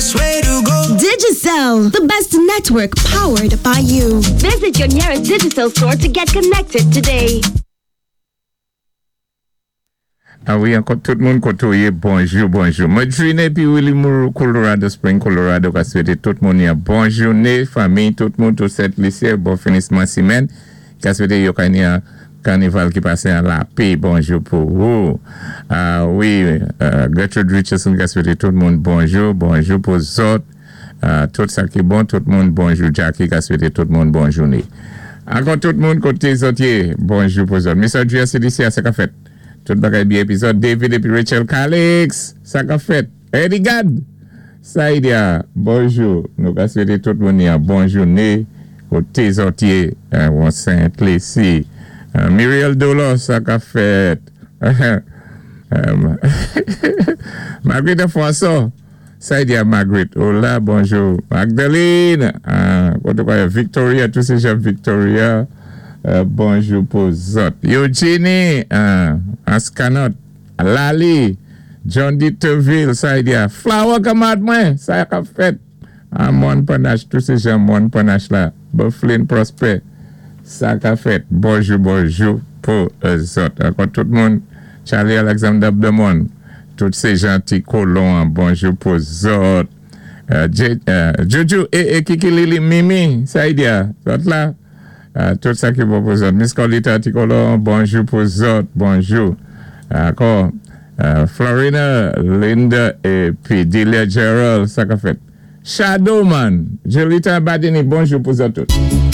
best way to go. Digicel, the best network powered by you. Visit your nearest Digicel store to get connected today. A wi, ankò tout moun koté ou yé, bonjou, bonjou. Madrine épi Willy Moore, Colorado Spring, Colorado, ka swété tout moun yon bon jouné, fanmi, tout moun, tout Sent Lisi, bon finisman simenn, ka swété yo ka ni yon kanival ki pasé an lapè, bonjou pou ou. A wi, Gertrude Richardson ka swété tout moun bonjou, bonjou pou zòt, tout sa ki bon, tout moun bonjou. Jackie ka swété tout moun bon jouné. Ankò tout moun koté zòt yé, bonjou pou zòt. Miss Audrey CDC, sa ka fèt? Tout bagay byen épi zòt. David épi Rachel Calix, sa ka fèt? Eddie Gad, Saïdia, bonjou. Nou ka swété tout moun yon bon jouné koté zòt yé, won Sent Lisi. Muriel Dolor, sa ka fèt? Marguerite François, Saïdia Marguerite, hola, bonjou. Magdalene, koté kwa Victoria, tout sé jan Victoria, bonjou pou zòt. Eugenie, Ascanot, Lali, John D. Teville, Saïdia, Flower kamarad mwen, sa ka fèt? Amon Panache, tout sé jan Mon Panache la, Bufflin Prosper, sa ka fèt? Bonjou, bonjou pou zòt. Ankò tout moun, Charlie Alexander Abdemon, tout sé jan ti kolon, bonjou pou zòt. Juju, e Kiki Lili Mimi, Saïdia, zòt la, tout sa ki bon pou zòt. Miss Colita ti kolon, bonjou pou zòt, bonjou. Ankò, Florina, Linda épi Delia Gerald, sa ka fèt? Shadow Man, Jolita Badini, bonjou pou zòt tout.